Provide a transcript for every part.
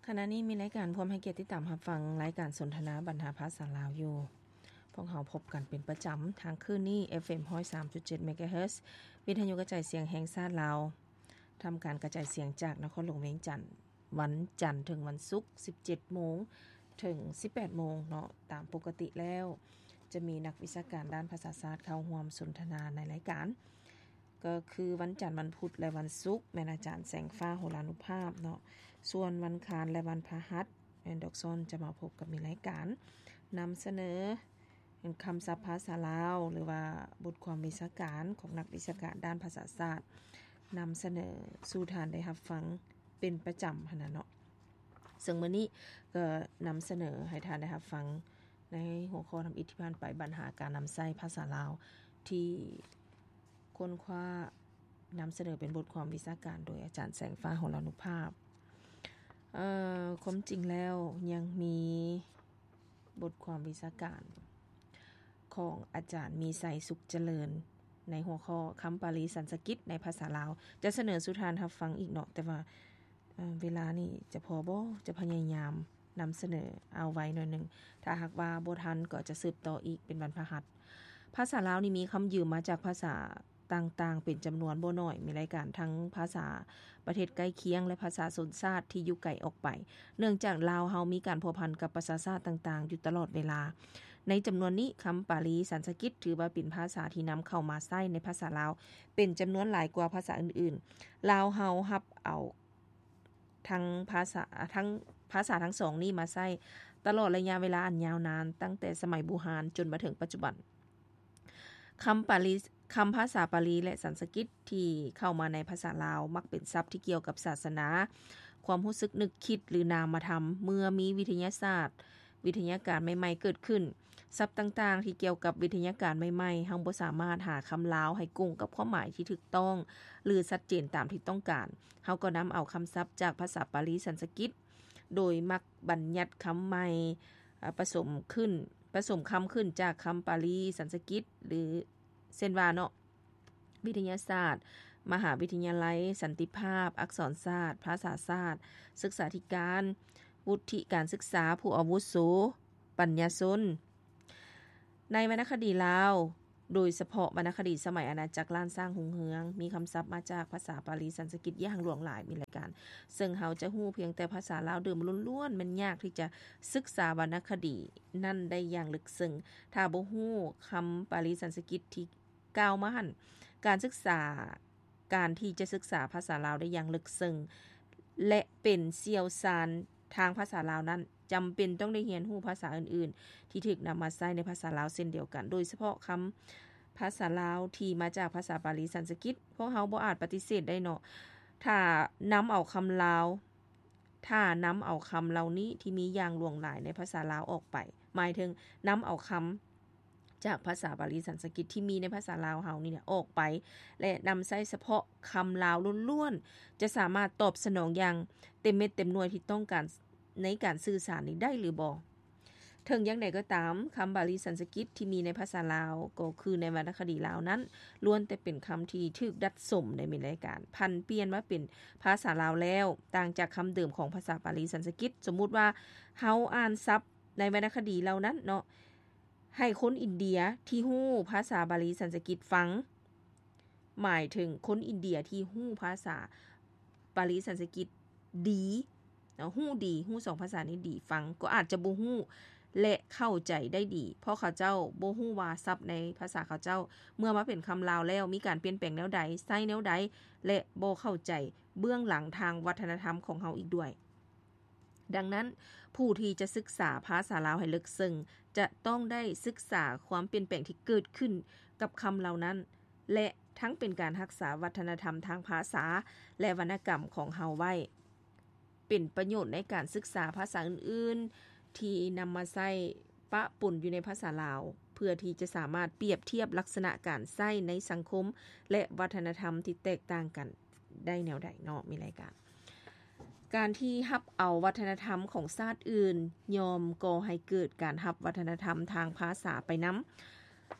ຂະນະນີ້ມີລາຍການພວມໃຫ້ກຽດຕິດຕາມຮັບຟັງລາຍການສົນທະນາບັນຫາພາສາລາວຢູ່. ພວກເຮົາພົບກັນເປັນປະຈຳທາງຄື້ນນີ້ ເອັຟເອັມ ຮ້ອຍສາມຈຸດເຈັດ ເມກາເຮີດ ວິທະຍຸກະຈາຍສຽງແຫ່ງຊາດລາວ, ທຳການກະຈາຍສຽງຈາກນະຄອນຫຼວງວຽງຈັນ, ວັນຈັນເຖິງວັນສຸກ ສິບເຈັດໂມງເຖິງສິບແປດໂມງເນາະ. ຕາມປົກກະຕິແລ້ວຈະມີນັກວິຊາການດ້ານພາສາຊາດເຂົ້າຮ່ວມສົນທະນາໃນລາຍການ ກໍຄືວັນຈັນ, ວັນພຸດ ແລະ ວັນສຸກ ແມ່ນອາຈານແສງຟ້າ ໂຫລານຸພາບເນາະ. ສ່ວນວັນຄານ ແລະ ວັນພະຫັດ ແມ່ນດອກຊອນຈະມາພົບກັບມີລາຍການນຳສະເໜີຄຳສັບພາສາລາວ ຫຼືວ່າບົດຄວາມວິຊາການຂອງນັກວິຊາການດ້ານພາສາຊາດ ນຳສະເໜີສູ່ທ່ານໄດ້ຮັບຟັງເປັນປະຈຳຫັ້ນນະເນາະ. ເຊິ່ງມື້ນີ້ກໍນຳສະເໜີໃຫ້ທ່ານໄດ້ຮັບຟັງໃນຫົວຂໍ້ທຳອິດທີ່ຜ່ານໄປ, ບັນຫາການນຳໃຊ້ພາສາລາວ ທີ່ຄົ້ນຄວ້ານຳສະເໜີເປັນບົດຄວາມວິຊາການໂດຍອາຈານແສງຟ້າ ໂຫລານຸພາບ. ເອີ ຄວາມຈິງແລ້ວຍັງມີບົດຄວາມວິຊາການຂອງອາຈານມີໄຊ ສຸກຈະເລີນ ໃນຫົວຂໍ້ຄຳປາລີສັນສະກິດໃນພາສາລາວ ຈະສະເໜີສູ່ທ່ານຮັບຟັງອີກເນາະ, ແຕ່ວ່າ ເອີ ເວລານີ້ຈະພໍບໍ່? ຈະພະຍາຍາມນຳສະເໜີເອົາໄວ້ໜ້ອຍໜຶ່ງ, ຖ້າຫາກວ່າບໍ່ທັນກໍຈະສືບຕໍ່ອີກເປັນວັນພະຫັດ. ພາສາລາວນີ້ມີຄຳຢືມມາຈາກພາສາຕ່າງໆເປັນຈຳນວນບໍ່ໜ້ອຍ, ມີລາຍການທັງພາສາປະເທດໃກ້ຄຽງ ແລະ ພາສາຊົນຊາດທີ່ຢູ່ໄກອອກໄປ, ເນື່ອງຈາກລາວເຮົາມີການພົວພັນກັບປະຊາຊາດຕ່າງໆຢູ່ຕະຫຼອດເວລາ. ໃນຈຳນວນນີ້, ຄຳປາລີສັນສະກິດຖືວ່າເປັນພາສາທີ່ນຳເຂົ້າມາໃຊ້ໃນພາສາລາວເປັນຈຳນວນຫຼາຍກວ່າພາສາອື່ນໆ. ລາວເຮົາຮັບເອົາ ທັງພາສາ ທັງພາສາທັງສອງນີ້ມາໃຊ້ຕະຫຼອດໄລຍະເວລາອັນຍາວນານ, ຕັ້ງແຕ່ສະໄໝບູຮານຈົນມາເຖິງປັດຈຸບັນ. ຄຳປາລີ ຄຳພາສາປາລີ ແລະ ສັນສະກິດທີ່ເຂົ້າມາໃນພາສາລາວ ມັກເປັນສັບທີ່ກ່ຽວກັບສາສະໜາ, ຄວາມຮູ້ສຶກນຶກຄິດ ຫຼື ນາມະທຳ. ເມື່ອມີວິທະຍາສາດ, ວິທະຍາການໃໝ່ໆເກີດຂຶ້ນ, ສັບຕ່າງໆທີ່ກ່ຽວກັບວິທະຍາການໃໝ່ໆ, ເຮົາບໍ່ສາມາດຫາຄຳລາວໃຫ້ກົງກັບຄວາມໝາຍທີ່ຖືກຕ້ອງ ຫຼື ຊັດເຈນຕາມທີ່ຕ້ອງການ. ເຮົາກໍນຳເອົາຄຳສັບຈາກພາສາປາລີສັນສະກິດ, ໂດຍມັກບັນຍັດຄຳໃໝ່, ອາ, ປະສົມຂຶ້ນ, ປະສົມຄຳຂຶ້ນຈາກຄຳປາລີສັນສະກິດ ຫຼື ເຊັ່ນວ່າເນາະ, ວິທະຍາສາດ, ມະຫາວິທະຍາໄລ, ສັນຕິພາບ, ອັກສອນສາດ, ພາສາສາດ, ສຶກສາທິການ, ວຸດທິການສຶກສາ, ຜູ້ອາວຸໂສ, ປັນຍາຊົນ. ໃນວັນນະຄະດີລາວ, ໂດຍສະເພາະວັນນະຄະດີສະໄໝອານາຈັກລ້ານຊ້າງຮຸ່ງເຮືອງ, ມີຄຳສັບມາຈາກພາສາປາລີສັນສະກິດຢ່າງຫຼວງຫຼາຍ, ມີລາຍການ, ເຊິ່ງເຮົາຈະຮູ້ພຽງແຕ່ພາສາລາວເດີມລ້ວນໆ, ແມ່ນຍາກທີ່ຈະສຶກສາວັນນະຄະດີນັ້ນໄດ້ຢ່າງເລິກເຊິ່ງ ຖ້າບໍ່ຮູ້ຄຳປາລີສັນສະກິດທີ່ ກ່າວມາຫັ້ນ, ການສຶກສາ, ການທີ່ຈະສຶກສາພາສາລາວໄດ້ຢ່າງເລິກເຊິ່ງ ແລະ ເປັນຊ່ຽວຊານທາງພາສາລາວນັ້ນ, ຈຳເປັນຕ້ອງໄດ້ຮຽນຮູ້ພາສາອື່ນໆ ທີ່ຖືກນຳມາໃຊ້ໃນພາສາລາວເຊັ່ນດຽວກັນ, ໂດຍສະເພາະຄຳພາສາລາວທີ່ມາຈາກພາສາປາລີສັນສະກິດ. ພວກເຮົາບໍ່ອາດປະຕິເສດໄດ້ເນາະ, ຖ້ານຳເອົາຄຳລາວ, ຖ້ານຳເອົາຄຳເຫຼົ່ານີ້ທີ່ມີຢ່າງຫຼວງຫຼາຍໃນພາສາລາວອອກໄປ, ໝາຍເຖິງນຳເອົາຄຳ ຈາກພາສາປາລີສັນສະກິດທີ່ມີໃນພາສາລາວເຮົານີ້ແຫຼະອອກໄປ ແລະ ນຳໃຊ້ສະເພາະຄຳລາວລ້ວນໆ ຈະສາມາດຕອບສະໜອງຢ່າງເຕັມເມັດເຕັມໜ່ວຍທີ່ຕ້ອງການໃນການສື່ສານນີ້ໄດ້ຫຼືບໍ່? ເຖິງຢ່າງໃດກໍຕາມ, ຄຳປາລີສັນສະກິດທີ່ມີໃນພາສາລາວ, ກໍຄືໃນວັນນະຄະດີລາວນັ້ນ, ລ້ວນແຕ່ເປັນຄຳທີ່ຖືກດັດສົມໃນມີລາຍການ, ຜັນປ່ຽນມາເປັນພາສາລາວແລ້ວ, ຕ່າງຈາກຄຳເດີມຂອງພາສາປາລີສັນສະກິດ. ສົມມຸດວ່າເຮົາອ່ານສັບໃນວັນນະຄະດີເຫຼົ່ານັ້ນເນາະ, ໃຫ້ຄົນອິນເດຍທີ່ຮູ້ພາສາບາລີສັນສະກິດຟັງ, ໝາຍເຖິງຄົນອິນເດຍທີ່ຮູ້ພາສາບາລີສັນສະກິດດີ, ຮູ້ດີ, ຮູ້ສອງພາສານີ້ດີ, ຟັງກໍອາດຈະບໍ່ຮູ້ ແລະ ເຂົ້າໃຈໄດ້ດີ, ເພາະເຂົາເຈົ້າບໍ່ຮູ້ວ່າສັບໃນພາສາເຂົາເຈົ້າ ເມື່ອມາເປັນຄຳລາວແລ້ວ ມີການປ່ຽນແປງແນວໃດ, ໃຊ້ແນວໃດ ແລະ ບໍ່ເຂົ້າໃຈເບື້ອງຫຼັງທາງວັດທະນະທຳຂອງເຮົາອີກດ້ວຍ. ດັ່ງນັ້ນ, ຜູ້ທີ່ຈະສຶກສາພາສາລາວໃຫ້ເລິກເຊິ່ງ ຈະຕ້ອງໄດ້ສຶກສາຄວາມປ່ຽນແປງທີ່ເກີດຂຶ້ນກັບຄຳເຫຼົ່ານັ້ນ ແລະ ທັງເປັນການຮັກສາວັດທະນະທຳທາງພາສາ ແລະ ວັນນະກຳຂອງເຮົາໄວ້, ເປັນປະໂຫຍດໃນການສຶກສາພາສາອື່ນໆ ທີ່ນຳມາໃຊ້ປະປົນຢູ່ໃນພາສາລາວ, ເພື່ອທີ່ຈະສາມາດປຽບທຽບລັກສະນະການໃຊ້ໃນສັງຄົມ ແລະ ວັດທະນະທຳທີ່ແຕກຕ່າງກັນ ໄດ້ແນວໃດເນາະ ມີລາຍການ. ການທີ່ຮັບເອົາວັດທະນະທຳຂອງຊາດອື່ນ ຍ່ອມກໍ່ໃຫ້ເກີດການຮັບວັດທະນະທຳທາງພາສາໄປນຳ,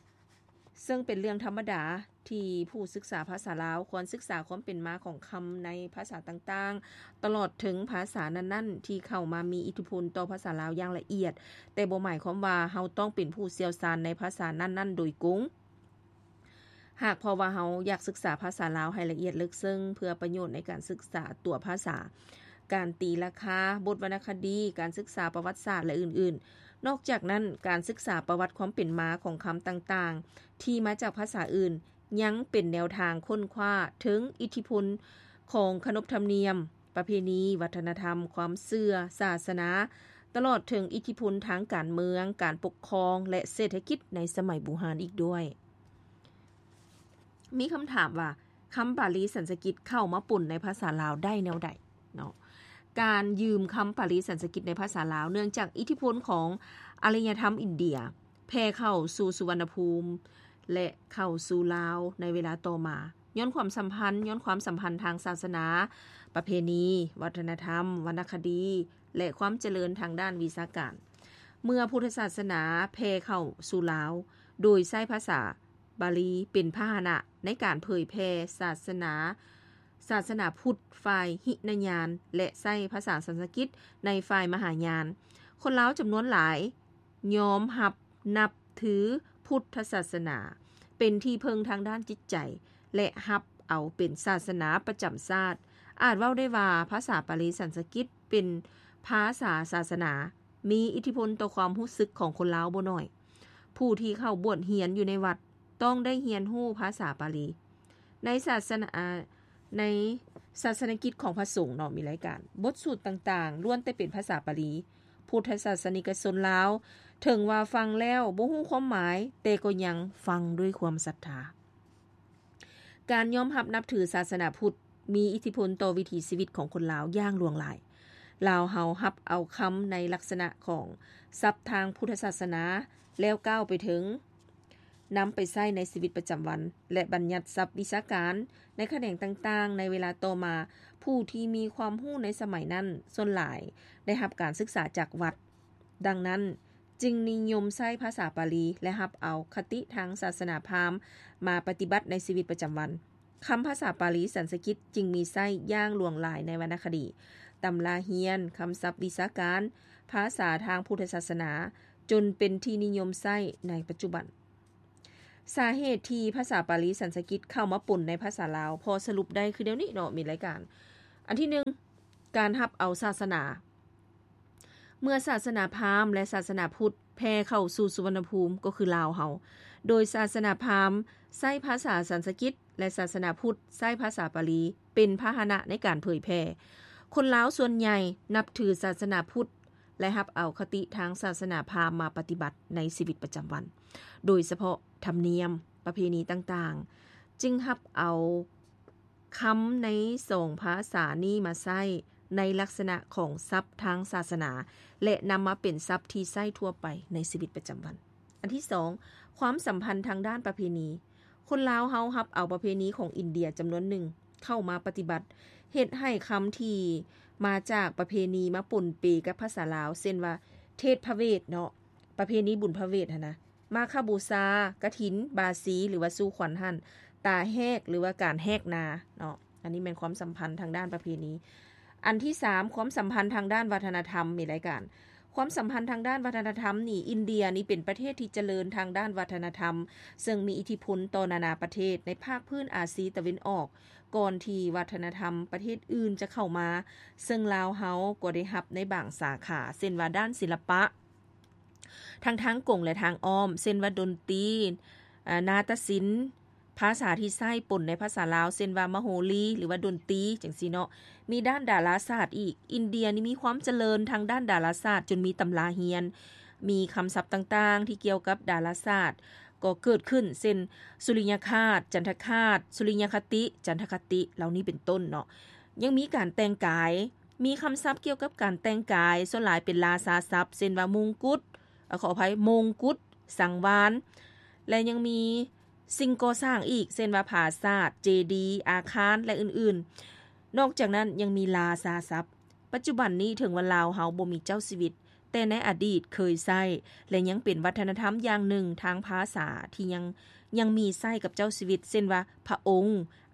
ເຊິ່ງເປັນເລື່ອງທຳມະດາ ທີ່ຜູ້ສຶກສາພາສາລາວຄວນສຶກສາຄວາມເປັນມາຂອງຄຳໃນພາສາຕ່າງໆ, ຕະຫຼອດເຖິງພາສານັ້ນໆ ທີ່ເຂົ້າມາມີອິດທິພົນຕໍ່ພາສາລາວຢ່າງລະອຽດ, ແຕ່ບໍ່ໝາຍຄວາມວ່າເຮົາຕ້ອງເປັນຜູ້ຊ່ຽວຊານໃນພາສານັ້ນໆໂດຍກົງ. ຫາກເພາະວ່າເຮົາຢາກສຶກສາພາສາລາວໃຫ້ລະອຽດເລິກເຊິ່ງ ເພື່ອປະໂຫຍດໃນການສຶກສາຕົວພາສາ, ການຕີລາຄາ, ບົດວັນນະຄະດີ, ການສຶກສາປະຫວັດສາດ ແລະ ອື່ນໆ. ນອກຈາກນັ້ນ, ການສຶກສາປະຫວັດຄວາມເປັນມາຂອງຄຳຕ່າງໆ ທີ່ມາຈາກພາສາອື່ນ ຍັງເປັນແນວທາງຄົ້ນຄວ້າເຖິງອິດທິພົນຂອງຂະໜົບທຳນຽມ, ປະເພນີ, ວັດທະນະທຳ, ຄວາມເຊື່ອ, ສາສະໜາ, ຕະຫຼອດເຖິງອິດທິພົນທາງການເມືອງ, ການປົກຄອງ ແລະ ເສດຖະກິດໃນສະໄໝບູຮານອີກດ້ວຍ. ມີຄຳຖາມວ່າ ຄຳປາລີສັນສະກິດເຂົ້າມາປົນໃນພາສາລາວໄດ້ແນວໃດເນາະ? ການຢືມຄຳປາລີສັນສະກິດໃນພາສາລາວ ເນື່ອງຈາກອິດທິພົນຂອງອາລະຍະທຳອິນເດຍ ແຜ່ເຂົ້າສູ່ສຸວັນນະພູມ ແລະ ເຂົ້າສູ່ລາວໃນເວລາຕໍ່ມາ ຍ້ອນຄວາມສຳພັນ, ຍ້ອນຄວາມສຳພັນທາງສາສະໜາ, ປະເພນີ, ວັດທະນະທຳ, ວັນນະຄະດີ ແລະ ຄວາມຈະເລີນທາງດ້ານວິຊາການ. ເມື່ອພຸດທະສາສະໜາແຜ່ເຂົ້າສູ່ລາວ ໂດຍໃຊ້ພາສາບາລີເປັນພາຫະນະໃນການເຜີຍແຜ່ສາສະໜາ, ສາສະໜາພຸດຝ່າຍຫິນະຍານ ແລະ ໃຊ້ພາສາສັນສະກິດໃນຝ່າຍມະຫາຍານ, ຄົນລາວຈຳນວນຫຼາຍ ຍອມຮັບນັບຖືພຸດທະສາສະໜາເປັນທີ່ເພິ່ງທາງດ້ານຈິດໃຈ ແລະ ຮັບເອົາເປັນສາສະໜາປະຈຳຊາດ. ອາດເວົ້າໄດ້ວ່າພາສາປາລີສັນສະກິດເປັນພາສາສາສະໜາ, ມີອິດທິພົນຕໍ່ຄວາມຮູ້ສຶກຂອງຄົນລາວບໍ່ໜ້ອຍ. ຜູ້ທີ່ເຂົ້າບວດຮຽນຢູ່ໃນວັດ ຕ້ອງໄດ້ຮຽນຮູ້ພາສາປາລີ. ໃນສາສະໜາ, ໃນສາສະນະກິດຂອງພະສົງເນາະ ມີລາຍການ ບົດສູດຕ່າງໆ ລ້ວນແຕ່ເປັນພາສາປາລີ. ພຸດທະສາສະນິກະຊົນລາວ ເຖິງວ່າຟັງແລ້ວບໍ່ຮູ້ຄວາມໝາຍ, ແຕ່ກໍຍັງຟັງດ້ວຍຄວາມສັດທາ. ການຍອມຮັບນັບຖືສາສະໜາພຸດ ມີອິດທິພົນຕໍ່ວິຖີຊີວິດຂອງຄົນລາວຢ່າງຫຼວງຫຼາຍ. ລາວເຮົາຮັບເອົາຄຳໃນລັກສະນະຂອງສັບທາງພຸດທະສາສະໜາ ແລ້ວກ້າວໄປເຖິງ ນຳໄປໃຊ້ໃນຊີວິດປະຈຳວັນ ແລະ ບັນຍັດສັບວິຊາການໃນຂະແໜງຕ່າງໆ. ໃນເວລາຕໍ່ມາ, ຜູ້ທີ່ມີຄວາມຮູ້ໃນສະໄໝນັ້ນສ່ວນຫຼາຍໄດ້ຮັບການສຶກສາຈາກວັດ. ດັ່ງນັ້ນ, ຈຶ່ງນິຍົມໃຊ້ພາສາປາລີ ແລະ ຮັບເອົາຄະຕິທາງສາສະໜາພາມມາປະຕິບັດໃນຊີວິດປະຈຳວັນ. ຄຳພາສາປາລີສັນສະກິດຈຶ່ງມີໃຊ້ຢ່າງຫຼວງຫຼາຍໃນວັນນະຄະດີ, ຕຳລາຮຽນ, ຄຳສັບວິຊາການ, ພາສາທາງພຸດທະສາສະໜາ, ຈົນເປັນທີ່ນິຍົມໃຊ້ໃນປັດຈຸບັນ. ສາເຫດທີ່ພາສາປາລີສັນສະກິດເຂົ້າມາປົນໃນພາສາລາວ ພໍສະຫຼຸບໄດ້ຄືແນວນີ້ເນາະ ມີລາຍການ. ອັນທີໜຶ່ງ, ການຮັບເອົາສາສະໜາ. ເມື່ອສາສະໜາພາມ ແລະ ສາສະໜາພຸດແຜ່ເຂົ້າສູ່ສຸວັນນະພູມ ກໍຄືລາວເຮົາ, ໂດຍສາສະໜາພາມໃຊ້ພາສາສັນສະກິດ ແລະ ສາສະໜາພຸດໃຊ້ພາສາປາລີເປັນພາຫະນະໃນການເຜີຍແຜ່. ຄົນລາວສ່ວນໃຫຍ່ນັບຖືສາສະໜາພຸດ ແລະ ຮັບເອົາຄະຕິທາງສາສະໜາພາມມາປະຕິບັດໃນຊີວິດປະຈຳວັນ, ໂດຍສະເພາະທຳນຽມ, ປະເພນີຕ່າງໆ, ຈຶ່ງຮັບເອົາ ຄຳໃນສອງພາສານີ້ມາໃຊ້ໃນລັກສະນະຂອງສັບທາງສາສະໜາ ແລະ ນຳມາເປັນສັບທີ່ໃຊ້ທົ່ວໄປໃນຊີວິດປະຈຳວັນ. ອັນທີສອງ, ຄວາມສຳພັນທາງດ້ານປະເພນີ. ຄົນລາວເຮົາຮັບເອົາປະເພນີຂອງອິນເດຍຈຳນວນໜຶ່ງເຂົ້າມາປະຕິບັດ, ເຮັດໃຫ້ຄຳທີ່ມາຈາກປະເພນີມາປົນເປກັບພາສາລາວ, ເຊັ່ນວ່າ ເທດພະເວດເນາະ, ປະເພນີບຸນພະເວດຫັ້ນນະ, ມາຄະບູຊາ, ກະຖິນ, ບາສີ ຫຼືວ່າສູ່ຂວັນຫັ້ນ, ຕາແຮກ ຫຼືວ່າການແຮກນາເນາະ. ອັນນີ້ແມ່ນຄວາມສຳພັນທາງດ້ານປະເພນີ. ອັນທີສາມ, ຄວາມສຳພັນທາງດ້ານວັດທະນະທຳ. ມີລາຍການຄວາມສຳພັນທາງດ້ານວັດທະນະທຳນີ້, ອິນເດຍນີ້ເປັນປະເທດທີ່ຈະເລີນທາງດ້ານວັດທະນະທຳ, ເຊິ່ງມີອິດທິພົນຕໍ່ນານາປະເທດໃນພາກພື້ນອາຊີຕາເວັນອອກ, ກ່ອນທີ່ວັດທະນະທຳປະເທດອື່ນຈະເຂົ້າມາ, ເຊິ່ງລາວເຮົາກໍໄດ້ຮັບໃນບາງສາຂາ, ເຊັ່ນວ່າດ້ານສິລະປະ, ທັງທາງກົງ ແລະ ທາງອ້ອມ, ເຊັ່ນວ່າດົນຕີ, ອາ, ນາຕະສິນ, ພາສາທີ່ໃຊ້ປົນໃນພາສາລາວ, ເຊັ່ນວ່າມະໂຫຣີ ຫຼືວ່າດົນຕີ ຈັ່ງຊີ້ເນາະ. ມີດ້ານດາລາສາດອີກ. ອິນເດຍນີ້ມີຄວາມຈະເລີນທາງດ້ານດາລາສາດ, ຈົນມີຕຳລາຮຽນ, ມີຄຳສັບຕ່າງໆທີ່ກ່ຽວກັບດາລາສາດກໍເກີດຂຶ້ນ, ເຊັ່ນ ສຸລິຍະຄາດ, ຈັນທະຄາດ, ສຸລິຍະຄະຕິ, ຈັນທະຄະຕິ ເຫຼົ່ານີ້ເປັນຕົ້ນເນາະ. ຍັງມີການແຕ່ງກາຍ, ມີຄຳສັບກ່ຽວກັບການແຕ່ງກາຍ, ສ່ວນຫຼາຍເປັນລາຊາສັບ, ເຊັ່ນວ່າມຸງກຸດ, ເອີ, ຂໍອະໄພ, ມົງກຸດ, ສັງວານ ແລະ ຍັງມີສິ່ງກໍ່ສ້າງອີກ, ເຊັ່ນວ່າ ຜາສາດ, ເຈດີ, ອາຄານ ແລະ ອື່ນໆ. ນອກຈາກນັ້ນຍັງມີລາຊາສັບ. ປັດຈຸບັນນີ້ເຖິງວ່າລາວເຮົາບໍ່ມີເຈົ້າຊີວິດ, ແຕ່ໃນອະດີດເຄີຍໃຊ້ ແລະ ຍັງເປັນວັດທະນະທຳຢ່າງໜຶ່ງທາງພາສາທີ່ຍັງ ຍັງມີໃຊ້ກັບເຈົ້າຊີວິດ ເຊັ່ນວ່າ ພະອົງ,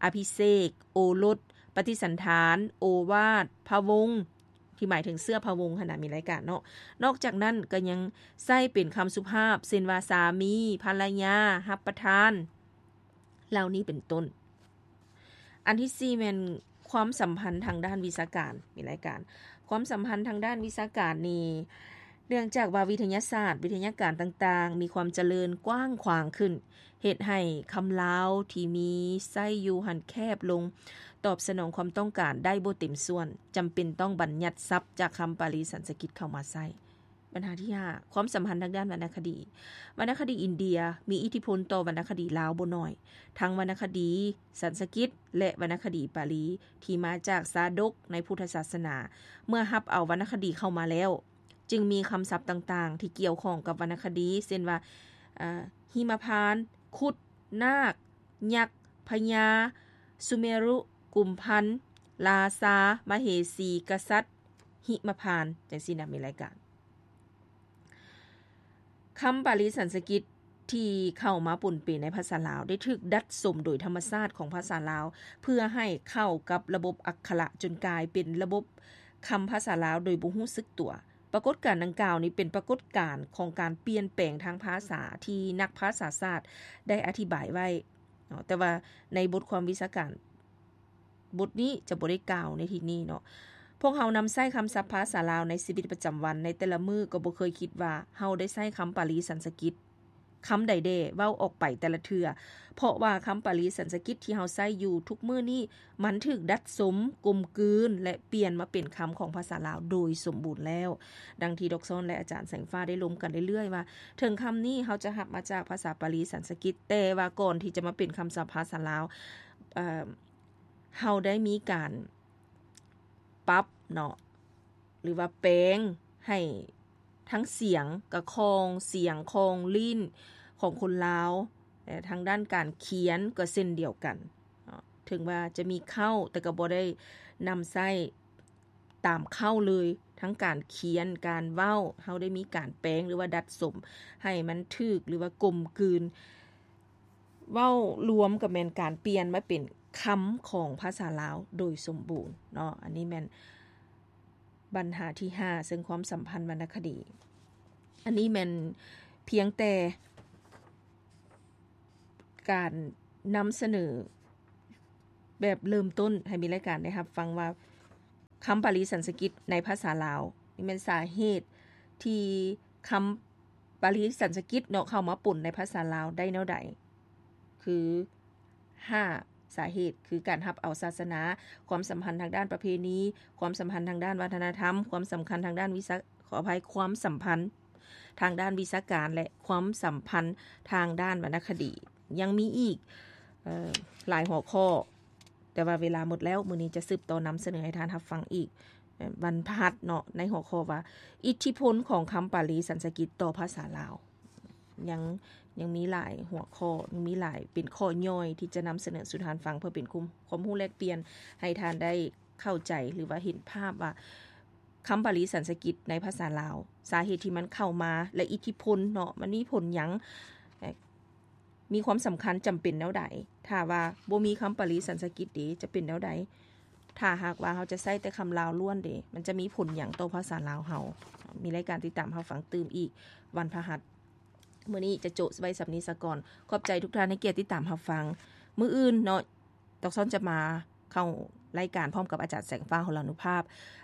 ອະພິເສກ, ໂອລົດ, ປະຕິສັນຖານ, ໂອວາດ, ພະວົງ ທີ່ໝາຍເຖິງເຊື້ອພະວົງຫັ້ນນະ ມີລາຍການເນາະ. ນອກຈາກນັ້ນກໍຍັງໃຊ້ເປັນຄຳສຸພາບ ເຊັ່ນວ່າ ສາມີ, ພັນລະຍາ, ຮັບປະທານ ເຫຼົ່ານີ້ເປັນຕົ້ນ. ອັນທີສີ່ແມ່ນຄວາມສຳພັນທາງດ້ານວິຊາການ ມີລາຍການ ຄວາມສຳພັນທາງດ້ານວິຊາການນີ້ ເນື່ອງຈາກວ່າວິທະຍາສາດ, ວິທະຍາການຕ່າງໆ ມີຄວາມຈະເລີນກວ້າງຂວາງຂຶ້ນ ເຮັດໃຫ້ຄຳລາວທີ່ມີໃຊ້ຢູ່ຫັ້ນແຄບລົງ, ຕອບສະໜອງຄວາມຕ້ອງການໄດ້ບໍ່ເຕັມສ່ວນ, ຈຳເປັນຕ້ອງບັນຍັດສັບຈາກຄຳປາລີສັນສະກິດເຂົ້າມາໃຊ້. ບັນຫາທີຫ້າ ຄວາມສຳພັນທາງດ້ານວັນນະຄະດີ. ວັນນະຄະດີອິນເດຍມີອິດທິພົນຕໍ່ວັນນະຄະດີລາວບໍ່ໜ້ອຍ, ທັງວັນນະຄະດີສັນສະກິດ ແລະ ວັນນະຄະດີປາລີ ທີ່ມາຈາກຊາດົກໃນພຸດທະສາສະໜາ. ເມື່ອຮັບເອົາວັນນະຄະດີເຂົ້າມາແລ້ວ, ຈຶ່ງມີຄຳສັບຕ່າງໆທີ່ກ່ຽວຂ້ອງກັບວັນນະຄະດີ ເຊັ່ນວ່າ ເອີ ຫິມະພານ, ຄຸດ, ນາກ, ຍັກ, ພະຍາ, ສຸເມລຸ, ກຸມພັນ, ລາຊາ, ມະເຫສີ, ກະສັດ, ຫິມະພານ ຈັ່ງຊີ້ນະ ມີລາຍການ. ຄຳປາລີສັນສະກິດທີ່ເຂົ້າມາປົນເປໃນພາສາລາວ ໄດ້ຖືກດັດສົມໂດຍທຳມະຊາດຂອງພາສາລາວ ເພື່ອໃຫ້ເຂົ້າກັບລະບົບອັກຂະລະ ຈົນກາຍເປັນລະບົບຄຳພາສາລາວໂດຍບໍ່ຮູ້ສຶກຕົວ. ປາກົດການດັ່ງກ່າວນີ້ເປັນປາກົດການຂອງການປ່ຽນແປງທາງພາສາທີ່ນັກພາສາສາດໄດ້ອະທິບາຍໄວ້ເນາະ, ແຕ່ວ່າໃນບົດຄວາມວິຊາການ ບົດນີ້ຈະບໍ່ໄດ້ກ່າວໃນທີ່ນີ້ເນາະ. ພວກເຮົານຳໃຊ້ຄຳສັບພາສາລາວໃນຊີວິດປະຈຳວັນໃນແຕ່ລະມື້ ກໍບໍ່ເຄີຍຄິດວ່າເຮົາໄດ້ໃຊ້ຄຳປາລີສັນສະກິດຄຳໃດແດ່ເວົ້າອອກໄປແຕ່ລະເທື່ອ, ເພາະວ່າຄຳປາລີສັນສະກິດທີ່ເຮົາໃຊ້ຢູ່ທຸກມື້ນີ້ ມັນຖືກດັດສົມ, ກົມກືນ ແລະ ປ່ຽນມາເປັນຄຳຂອງພາສາລາວໂດຍສົມບູນແລ້ວ. ດັ່ງທີ່ດອກຊອນ ແລະ ອາຈານແສງຟ້າໄດ້ລົມກັນເລື້ອຍໆວ່າ ເຖິງຄຳນີ້ເຮົາຈະຮັບມາຈາກພາສາປາລີສັນສະກິດ, ແຕ່ວ່າກ່ອນທີ່ຈະມາເປັນຄຳສັບພາສາລາວ, ເອີ ເຮົາໄດ້ມີການປັບເນາະ ຫຼືວ່າແປງໃຫ້ທັງສຽງກະຂອງ, ສຽງຂອງລີ້ນຂອງຄົນລາວ, ແລະ ທາງດ້ານການຂຽນກໍເຊັ່ນດຽວກັນເນາະ. ເຖິງວ່າຈະມີເຄົ້າ ແຕ່ກໍບໍ່ໄດ້ນຳໃຊ້ຕາມເຄົ້າເລີຍ, ທັງການຂຽນ, ການເວົ້າ, ເຮົາໄດ້ມີການແປງ ຫຼືວ່າດັດສົມໃຫ້ມັນຖືກ ຫຼືວ່າກົມກືນ. ເວົ້າລວມກໍແມ່ນການປ່ຽນມາເປັນຄຳຂອງພາສາລາວໂດຍສົມບູນເນາະ. ອັນນີ້ແມ່ນບັນຫາທີຫ້າ ເຊິ່ງຄວາມສຳພັນວັນນະຄະດີ. ອັນນີ້ແມ່ນພຽງແຕ່ການນຳສະເໜີແບບເລີ່ມຕົ້ນໃຫ້ມີລາຍການໄດ້ຮັບຟັງວ່າ ຄຳປາລີສັນສະກິດໃນພາສາລາວ ນີ້ແມ່ນສາເຫດທີ່ຄຳປາລີສັນສະກິດເນາະ ເຂົ້າມາປົນໃນພາສາລາວໄດ້ແນວໃດ? ຄື ຫ້າ ສາເຫດ ຄືການຮັບເອົາສາສະໜາ, ຄວາມສຳພັນທາງດ້ານປະເພນີ, ຄວາມສຳພັນທາງດ້ານວັດທະນະທຳ, ຄວາມສຳຄັນທາງດ້ານວິຊາ ຂໍອະໄພ ຄວາມສຳພັນທາງດ້ານວິຊາການ ແລະ ຄວາມສຳພັນທາງດ້ານວັນນະຄະດີ. ຍັງມີອີກ ເອີ ຫຼາຍຫົວຂໍ້ ແຕ່ວ່າເວລາໝົດແລ້ວ, ມື້ນີ້ຈະສືບຕໍ່ນຳສະເໜີໃຫ້ທ່ານຮັບຟັງອີກ ເອີ ວັນພະຫັດເນາະ ໃນຫົວຂໍ້ວ່າ ອິດທິພົນຂອງຄຳປາລີສັນສະກິດຕໍ່ພາສາລາວ. ຍັງ ຍັງມີຫຼາຍຫົວຂໍ້ ຍັງມີຫຼາຍ ເປັນຂໍ້ຍ່ອຍທີ່ຈະນຳສະເໜີສູ່ທ່ານຟັງ ເພື່ອເປັນຄວາມ ຄວາມຮູ້ແລກປ່ຽນ ໃຫ້ທ່ານໄດ້ເຂົ້າໃຈ ຫຼືວ່າເຫັນພາບວ່າ ຄຳປາລີສັນສະກິດໃນພາສາລາວ ສາເຫດທີ່ມັນເຂົ້າມາ ແລະ ອິດທິພົນເນາະ ມັນມີຜົນຫຍັງ ມີຄວາມສຳຄັນຈຳເປັນແນວໃດ? ຖ້າວ່າບໍ່ມີຄຳປາລີສັນສະກິດເດ ຈະເປັນແນວໃດ? ຖ້າຫາກວ່າເຮົາຈະໃຊ້ແຕ່ຄຳລາວລ້ວນເດ ມັນຈະມີຜົນຫຍັງຕໍ່ພາສາລາວເຮົາ? ມີລາຍການຕິດຕາມຮັບຟັງຕື່ມອີກວັນພະຫັດ. ມື້ນີ້ຈະໂຈະໄວ້ສ່ຳນີ້ສາກ່ອນ. ຂອບໃຈທຸກທ່ານໃຫ້ກຽດຕິດຕາມຮັບຟັງ. ມື້ອື່ນເນາະ ດອກຊອນຈະມາເຂົ້າລາຍການພ້ອມກັບອາຈານແສງຟ້າ ຫົລານຸພາບ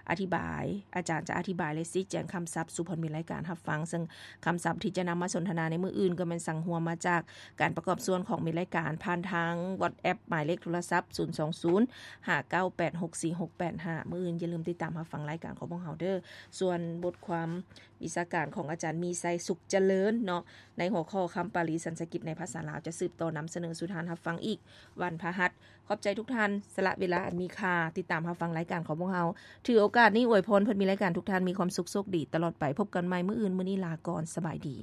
ອະທິບາຍ ອາຈານຈະອະທິບາຍ ແລະ ຊີ້ແຈງຄຳສັບສູ່ເພື່ອນມີລາຍການຮັບຟັງ, ເຊິ່ງຄຳສັບທີ່ຈະນຳມາສົນທະນາໃນມື້ອື່ນກໍແມ່ນສັງຮວມມາຈາກການປະກອບສ່ວນຂອງມີລາຍການ ຜ່ານທາງ WhatsApp ໝາຍເລກໂທລະສັບ ສູນສອງສູນ ຫ້າເກົ້າແປດຫົກສີ່ຫົກແປດຫ້າ. ມື້ອື່ນຢ່າລືມຕິດຕາມຮັບຟັງລາຍການຂອງພວກເຮົາເດີ້. ສ່ວນບົດຄວາມວິຊາການຂອງອາຈານມີໄຊ ສຸກຈະເລີນເນາະ ໃນຫົວຂໍ້ຄຳປາລີສັນສະກິດໃນພາສາລາວ ຈະສືບຕໍ່ນຳສະເໜີສູ່ທ່ານຮັບຟັງອີກວັນພະຫັດ. ຂອບໃຈທຸກທ່ານສະຫຼະເວລາອັນມີຄ່າ ຕິດຕາມຮັບຟັງລາຍການຂອງພວກເຮົາ. ຖືໂອກາດນີ້ອວຍພອນເພື່ອນມີລາຍການທຸກທ່ານມີຄວາມສຸກໂຊກດີຕະຫຼອດໄປ. ພົບກັນໃໝ່ມື້ອື່ນ, ມື້ນີ້ລາກ່ອນ, ສະບາຍດີ.